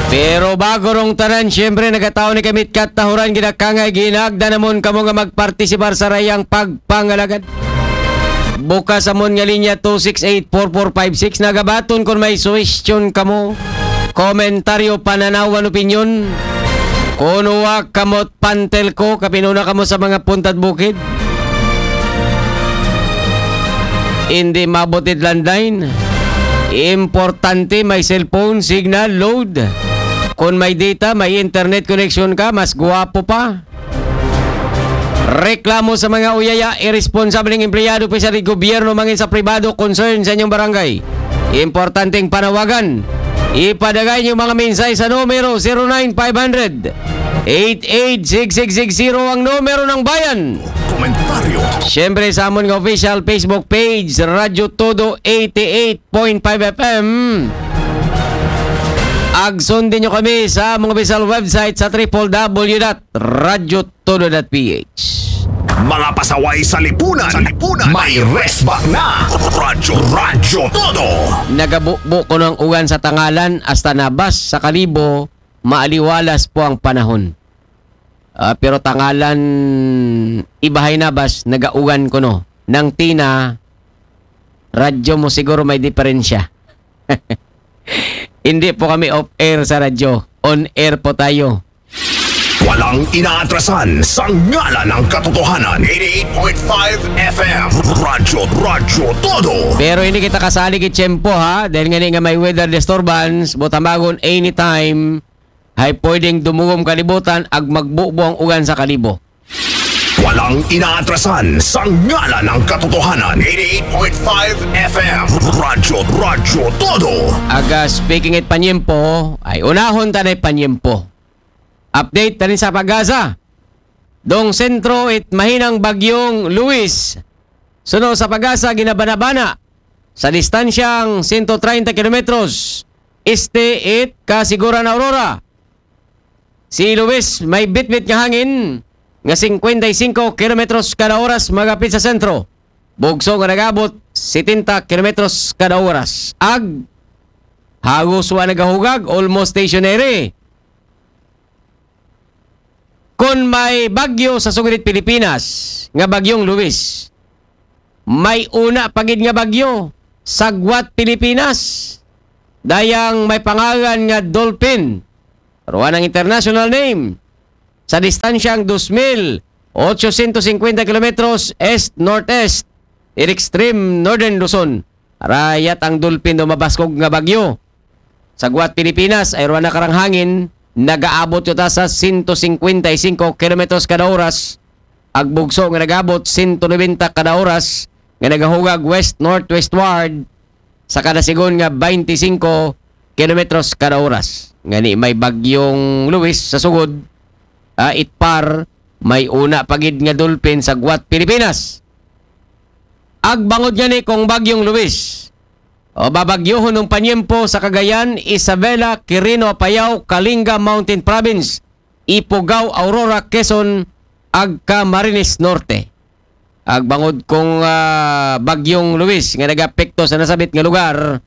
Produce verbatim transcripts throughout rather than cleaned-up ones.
Pero bago rong tanan, siyempre, nagataw ni kamit katahuran, ginakangay, ginagda namon kamo nga magpartisipar sa rayang pagpangalagad. Bukas amon nga linya two six eight four four five six. Nagabaton kung may suwestyon kamo, komentaryo, pananawan, opinyon. Kuno wa kamot pantel ko, kapinuna kamo sa mga puntad bukid. Hindi mabutit landline. Importante may cellphone signal load. Kung may data, may internet connection ka, mas guwapo pa. Reklamo sa mga uyaya, irresponsableng empleyado, opisyal sa gobyerno, mangin sa pribado, concern sa inyong barangay. Importanteng panawagan. Ipadagay niyo mga mensahe sa numero zero nine five hundred eight eight six six six zero, ang numero ng bayan. Komentaryo. Siyempre sa amon nga official Facebook page, Radyo Todo eighty-eight point five F M. Ag sundin nyo kami sa among official website sa triple W dot radyo todo dot P H. Mga pasaway sa lipunan. Sa lipunan. May resback na. Radyo, Radyo Todo. Nagabubo ko ng ugan sa Tangalan hasta Nabas sa Kalibo, maaliwalas po ang panahon. Ah, pero Tangalan, ibahay Nabas, nagaugan ko no. Nang Tina, radyo mo siguro may diferensya. Hindi po kami off-air sa radyo. On-air po tayo. Walang inaatrasan sa ngalan ng katotohanan. Eighty-eight point five F M. Radyo, Radyo Todo. Pero hindi kita kasali kay tiyempo ha, dahil nga nga may weather disturbance, butamagon anytime, ay pwedeng dumugom kalibutan ag magbubo ang ugan sa Kalibo. Walang inaatrasan sa ngalan ng katotohanan. Eighty-eight point five F M. Radyo, Radyo Todo. Aga speaking it panyempo, ay unahon ta na panyempo. Update tanin sa PAGASA. Dong sentro it mahinang bagyong Luis. Suno sa PAGASA, ginabanabana sa distansyang sento treinta kilometros este it kasiguran Aurora. Si Luis may bitbit nga hangin nga cincuenta y cinco kilometros kada oras magapit sa sentro. Bugso nga nagabot setenta kilometros kada oras. Ag hagos wa nagahugag, almost stationary. Kon may bagyo sa sugod it Pilipinas nga bagyong Luis, may una pa gid nga bagyo, sagwat Pilipinas. Dayang may pangalan nga Dolphin, ruwa ng international name, sa distansyang dos mil otsosyentos singkwenta kilometros east-northeast, in extreme northern Luzon. Rayat ang Dolphin do mabaskog nga bagyo. Sagwat Pilipinas, ay ruwa na karang hangin, nagaabot yuta sa sento singkwenta y singko kilometros kada oras, ag bugso nga nagabot sento nobenta kada oras, nga nagahugag west-northwestward sa kada sigon nga baynte singko kilometros kada oras. Ngani may bagyong Luis sa sugod, ah, it par, may una pa gid nga Dolphin sagwat Pilipinas. Ag bangod ngani kung bagyong Luis, o babagyohon ng panyempo sa Cagayan, Isabela, Quirino, Apayao, Kalinga, Mountain Province, Ifugao, Aurora, Quezon, ag Camarines Norte. Ag bangod kung, ah, bagyong Luis nga nagapekto sa nasabit nga lugar,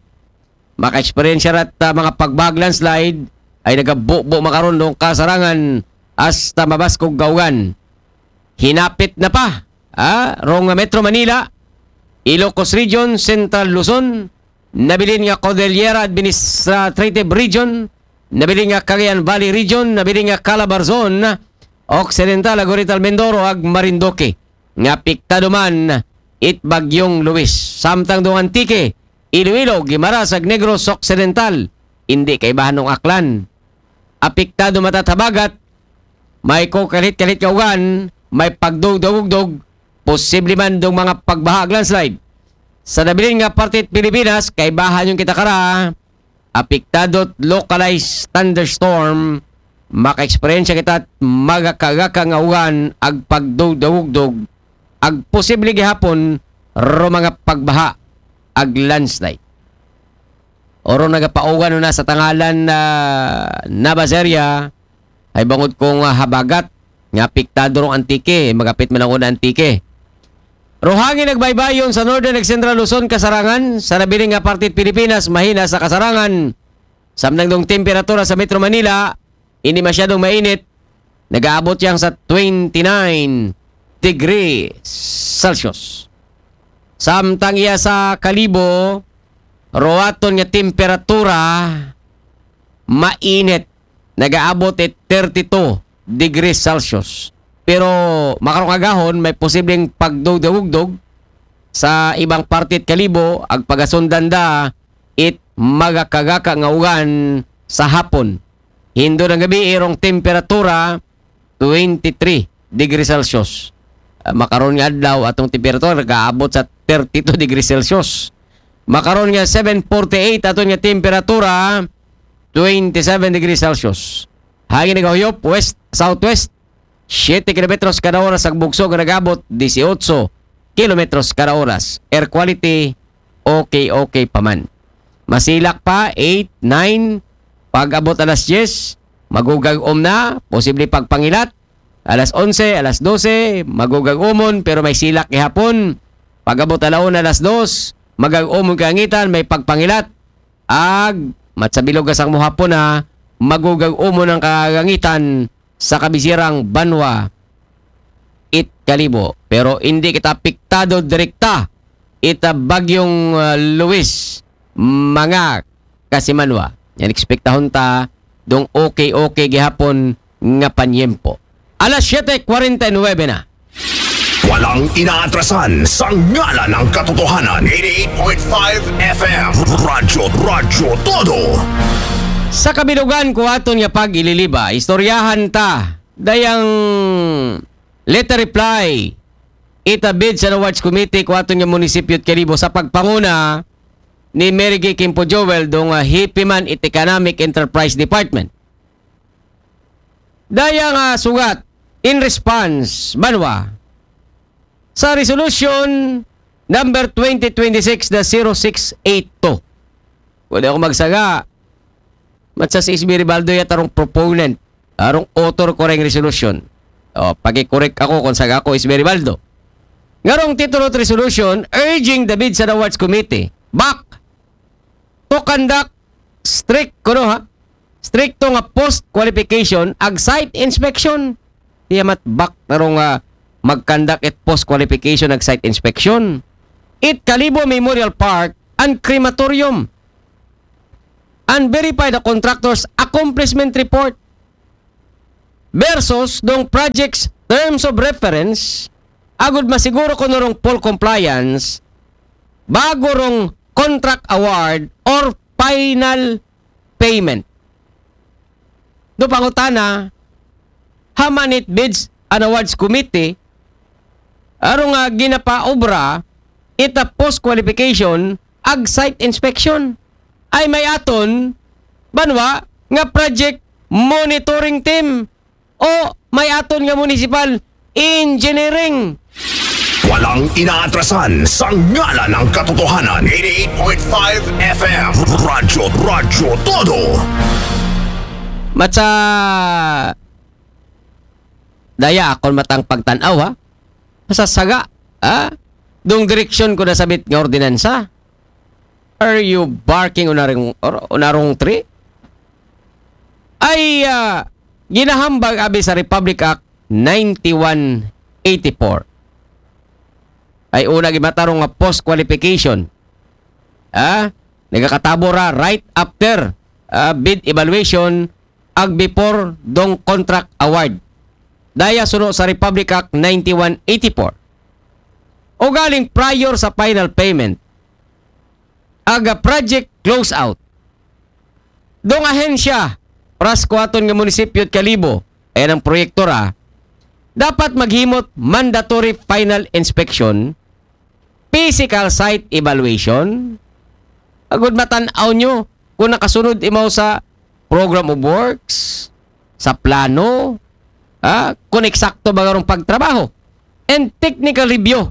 maka-eksperyensya rat, ah, mga pagbahag landslide ay nagabubo makarundong kasarangan hasta mabaskog kaugan. Hinapit na pa, ah, rong Metro Manila, Ilocos Region, Central Luzon, nabilin nga Cordillera Administrative Region, nabilin nga Cagayan Valley Region, nabilin nga Calabarzon Occidental, ag Oriental Mindoro, ag Marinduque, nga apektado man it bagyong Luis. Samtang dong Antique, Iloilo, Guimaras, ag Negros Occidental, hindi kaibahan ng Aklan. Apektado matat habagat, may kukalit-kalit nga ugan, may pagdugdugdog, posible man dong mga pagbaha ag landslide. Sa nabilin nga parte it Pilipinas, kaibahan yung kita kara, apektado localized thunderstorm, maka-eksperyensya kita at magakagaka nga ugan ag pagdugdugdog, ag posible gihapon ro mga pagbaha ag landslide. Oro nagapaugan na sa Tangalan na Nabas area, ay bangod kung, ah, habagat nga apektado rong Antique, magapit man ang una Antique. Ruhangin nagbaybayon sa Northern ag Central Luzon, kasarangan sa nabiling nga parte it Pilipinas, mahina sa kasarangan Samtang dong temperatura sa Metro Manila, hindi masyadong mainit, nag-aabot yang sa twenty-nine degrees Celsius. Samtang iya sa Kalibo, ro aton nga temperatura, mainit, nag-aabot it thirty-two degrees Celsius. Pero makarong agahon, may posibleng pagdugdog-ugdog sa ibang parte it Kalibo, ag pagasundan da it magakagaka nga ugan sa hapon. Hindo ng gabi, irong temperatura, twenty-three degrees Celsius. Ah, makaron nga adlaw, atong temperatura nag-aabot sa thirty-two degrees Celsius. Makaron nga seven forty-eight, aton nga temperatura, twenty-seven degrees Celsius. Hangin nagahuyop, west, southwest, siyete kilometros kada oras, ang bugso nga nag-abot, dieciocho kilometros kada oras. Air quality, okay, okay pa man. Masilak pa, eight, nine, pag-abot alas diyes, magugag-om na, posible pagpangilat. Alas onse, alas dose, magugag-umon, pero may silak gihapon. Pag-abot alauna, alas dos, magag-umon kaangitan, may pagpangilat. Ag, matsa bilog asang mohapon na, magugag-umon ang kaangitan sa kabisirang banwa it Kalibo. Pero hindi kita apektado direkta ita bagyong, ah, Luis, mga kasimanwa. Yan, ekspektahon ta dong okay-okay gihapon nga panyempo. Alas siyete kwarenta y nuebe na. Walang inaatrasan sa ngalan ng katotohanan. Eighty-eight point five F M. Radyo, Radyo Todo. Sa kabilugan ko aton nga pag-ililiba, istoryahan ta dayang letter reply ita Bids and Awards Committee ko aton nga munisipyo it Kalibo sa pagpanguna ni Mary Gay Kimpo Joel dong, ah, hipiman it Economic Enterprise Department. Dayang, ah, sugat in response, banwa, sa resolution number twenty twenty-six dash zero six eight two. Pwede ako magsaga. Matsa si S B Ribaldo yata rong proponent, arong author ko ring resolution. O, pag-correct ako kung saga ako S B Ribaldo. Ngarong titulo it resolution, urging the Bids and Awards Committee, back, to conduct strict, kuno ha? Strikto nga post qualification ag site inspection. Iya mat back na rong, ah, mag-conduct it post qualification ag site inspection. It Kalibo Memorial Park and Crematorium. And verify the contractor's accomplishment report versus dong project's terms of reference, agud masiguro kuno rong full compliance bago rong contract award or final payment. Do pangutana, haman it Bids and Awards Committee, arong nga ginapaobra ita post qualification ag site inspection. Ay may aton, banwa, nga project monitoring team o may aton nga municipal engineering. Walang inaatrasan sa ngalan ng katotohanan. Eighty-eight point five F M. Radyo, Radyo Todo. Matsa daya akon matang pagtan-aw, ha? Masasaga, ha? Dong direksyon ko nasabit nga ordinansa. Are you barking on a wrong, or on a wrong tree? Ay, ah, ginahambag abi sa Republic Act ninety-one eighty-four. Ay una gimatarong nga post qualification. Ha? Nagakatabo ra right after, ah, bid evaluation ag before dong contract award. Daya suno sa Republic Act ninety-one eighty-four. O galing prior sa final payment. Aga project closeout. Dong ahensya, pras kuwaton nga munisipyo at Kalibo, ay ang proyekto ra, dapat maghimot mandatory final inspection, physical site evaluation, agud matan-aw nyo kung nakasunod imaw sa program of works, sa plano, ah, kung eksakto ba garong pagtrabaho, and technical review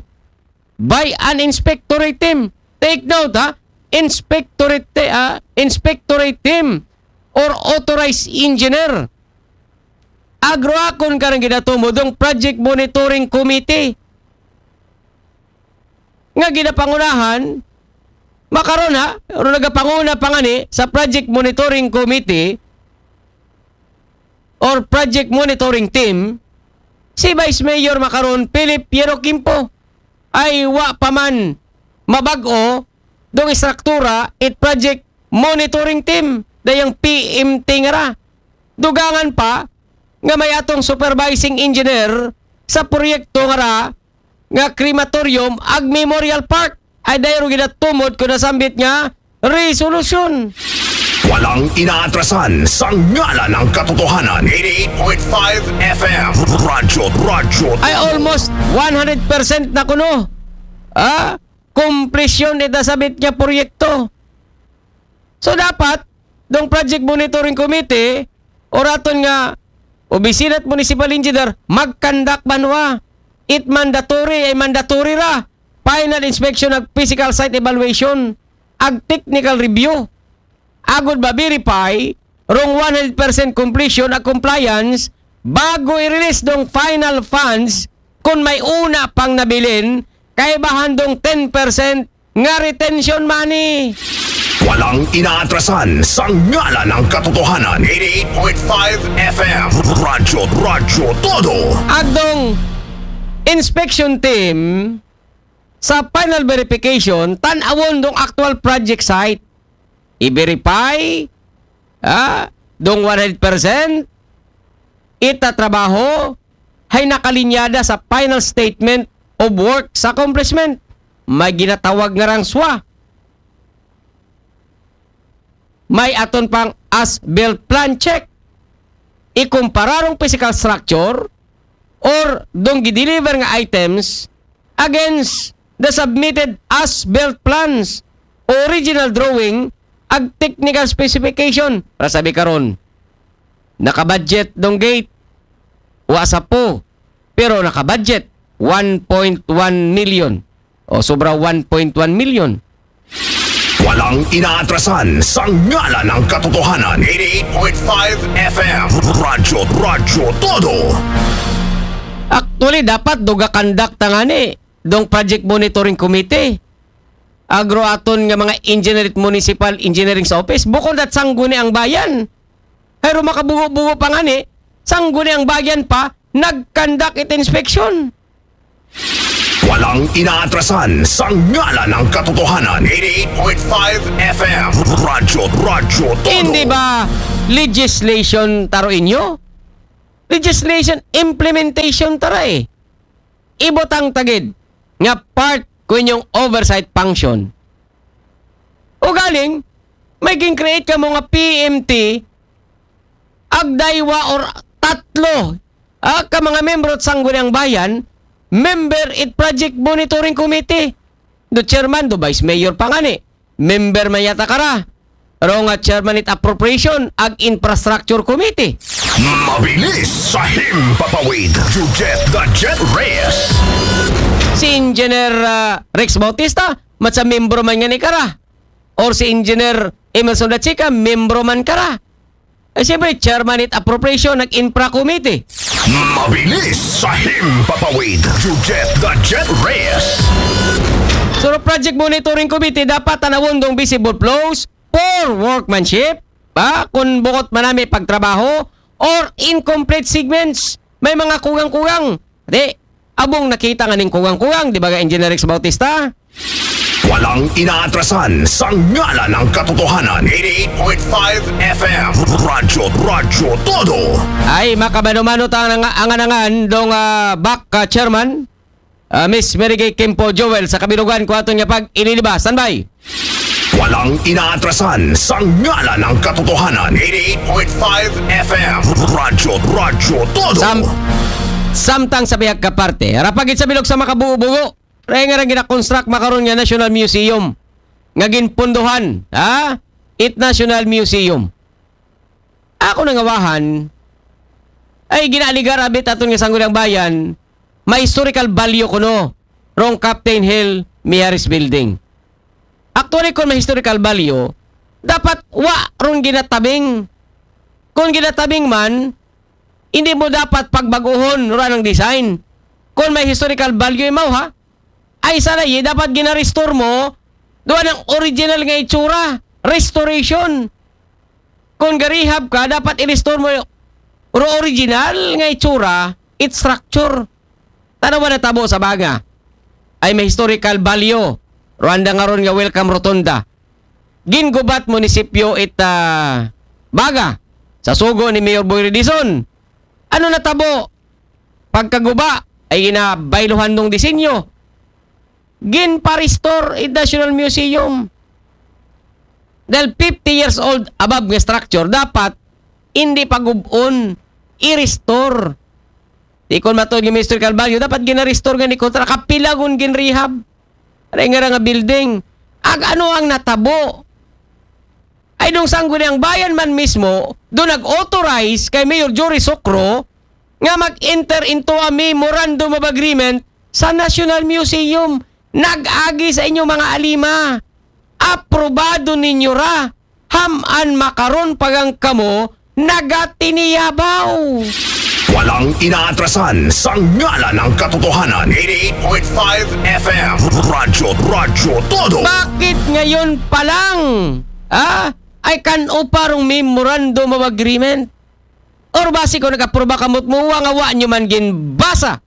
by an inspectorate team. Take note, ha? Inspectorate, ah, inspectorate team or authorized engineer. Agroakon ka ng ginatumod ng Project Monitoring Committee nga ginapangunahan Makaron ha, ron nagapanguna pa ngani sa Project Monitoring Committee or Project Monitoring Team, si Vice Mayor makaron, Philip Piero Quimpo, ay wa pa man mabag-o dong istruktura it Project Monitoring Team, dayang P M T nga ra. Dugangan pa nga may atong supervising engineer sa proyekto nga ra nga crematorium ag Memorial Park ay dayro ginatumod ko nasambit nga resolusyon. Walang inaatrasan sa ngalan ng katotohanan. eighty-eight point five F M. Radyo, Radyo. Ay almost one hundred percent na kuno. Ah, komplisyon ita sabit nga proyekto. So dapat, dong Project Monitoring Committee, o raton nga Opisina it Municipal Engineer, mag-conduct banwa. It mandatory ay mandatory ra. Final inspection ag physical site evaluation, ag technical review. Agod ba-verify rong one hundred percent completion ag compliance bago i-release dong final funds kung may una pang nabilin kay bahan dong ten percent nga retention money. Walang inaatrasan sa ngalan ng katotohanan. eighty-eight point five F M. Radyo, Radyo Todo. Agdong inspection team sa final verification, tan-awon dong actual project site. I-verify, ah, dong one hundred percent ita trabaho hay nakalinyada sa final statement of work sa accomplishment. May ginatawag nga rang swa. May aton pang as-built plan check. Ikumpara rong physical structure or dong gideliver nga items against the submitted as-built plans, original drawing, ag technical specification. Para sabi karon, nakabudget dong gate, wa sa po, pero nakabudget one point one million o sobra one point one million. Walang inaatrasan sa ngalan ng katotohanan. eighty-eight point five F M. Radyo, Radyo Todo. Actually, dapat duga conduct ta ngani dong Project Monitoring Committee. Agro aton nga mga engineer it municipal engineering sa office. Bukon dat sangguni ang bayan. Pero makabugo-bugo pa ngani, sangguni ang bayan pa, nag-conduct it inspection. Walang inaatrasan sa ngalan ng katotohanan. eighty-eight point five F M. Radyo, Radyo Todo. Hindi ba legislation taro inyo? Legislation implementation tara eh. Ibutang tagid nga part ko inyong oversight function. O galing, may gin-create ka mo nga P M T, agdaywa or tatlo, ah, ka mga membro at sangguniang bayan, member it Project Monitoring Committee. Do chairman, do vice mayor pa ngani. Member man yata kara. Ro nga chairman it appropriation ag infrastructure committee. Mabilis sa himpapawid. Jujet the Jet Reyes. Si Engineer ah, Rex Bautista, matsa membro man ngani kara. Or si Engineer Emerson Dachica, membro man kara. Ay siyempre, chairman it appropriation ag infra committee. Mabilis sa himpapawid. Jujet the Jet Reyes. So, Project Monitoring Committee dapat tanawon dong visible flows, poor workmanship, ba? Kung bukot manami pagtrabaho, or incomplete segments, may mga kugang-kugang. Di, abong nakita nga ning kugang-kugang, di ba, Engineer Rex Bautista? Walang inaatrasan sa ngalan ng katotohanan. eighty-eight point five F M. Radyo, Radyo Todo. Ay, makamano-mano ta ang angan-angan dong ah, back ah, chairman, ah, Miss Mary Gay Kimpo Joel sa kabilugan ko aton nga pag-iniliba. Standby! Walang inaatrasan sa ngalan ng katotohanan. eighty-eight point five F M. Radyo, Radyo Todo. Sam samtang sa bihag ka parte, rapagid sa bilog sa makabuo-buo, ray nga rang ginakonstruct makaron nga National Museum nga ginpunduhan, ha? It National Museum. Ako nangawahan, ay ginaaligar abit aton nga sangguniang bayan, may historical value kuno rong Captain Hill Mijares Building. Actually, kung may historical value, dapat wa ron ginatabing. Kung ginatabing man, hindi mo dapat pagbaguhon ron ang design. Kung may historical value imaw ha, ay sana yi, dapat gina-restore mo Duwa ng original nga itsura, restoration. Kung garihab ka, dapat i-restore mo yung ro-, original nga itsura, its structure. Tanawa na tabo sa baga. Ay may historical value. Rwanda nga ron nga welcome rotonda. Gingubat munisipyo it ah, baga sa sugo ni Mayor Boy Redison. Ano na tabo? Pagkaguba ay ginabayluhan ng disenyo. Ginpa-restore it National Museum. Dahil fifty years old above nga structure, dapat hindi pagubon, i-restore. Di kon matod nga historical value, dapat gina-restore nga ni kontra, kapilagon ginrehab. Aray nga ra nga building. Ag ano ang natabo? Ay dong sangguniang bayan man mismo, do nag-authorize kay Mayor Jory Socro nga mag-enter into a memorandum of agreement sa National Museum. Nag-agi sa inyong mga alima. Aprobado ninyo ra. Ham-an makaron pagang kamo nagatiniyabaw. Walang inaatrasan sa ngalan ng katotohanan. Eighty-eight point five F M. Radyo, Radyo Todo. Bakit ngayon pa lang? Ah? Ay kan-o pa rong memorandum of agreement? Or basi ko nag-aproba kamot mo, wa nga wa nyo man ginbasa?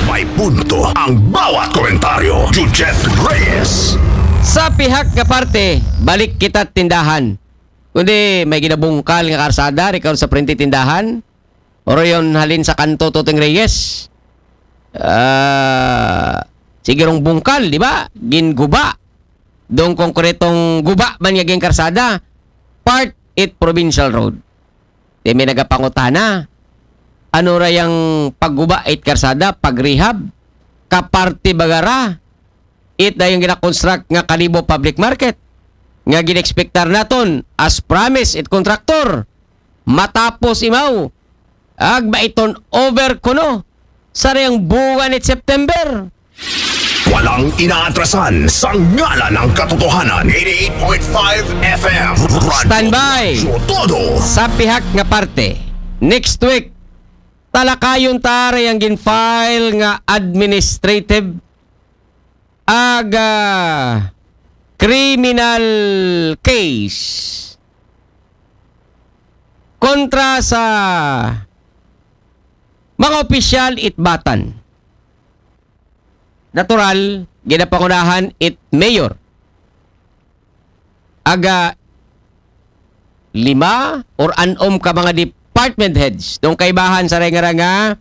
May punto ang bawat komentaryo. Jujet Reyes. Sa pihak nga parte, balik kita tindahan. Kundi may ginabungkal nga karsada, rikaw sa prente tindahan. Oro yon halin sa kanto Tuting Reyes. Ah, sigurong bungkal, di ba? Ginguba. Dong konkretong guba man nga ginkarsada. Part it provincial road. Di may nagapangutana. Ano ra yang pagguba it karsada, pagrehab? Kaparte bagara? It dayong ginakonstruct nga Kalibo Public Market. Nga ginexpectar naton, as promise it contractor. Matapos imaw. Agba iton over kuno. Sa rayang buwan it September. Walang inaatrasan sa ngalan ng katotohanan. Eighty-eight point five F M. Radyo Standby. Radyo Todo. Sa pihak nga parte, next week, talakayon ta rayang ginfile nga administrative aga criminal case kontra sa mga opisyal itbatan. Natural, ginapangunahan it mayor. Aga lima or anom ka mga department heads. Dong kaibahan sa rengara nga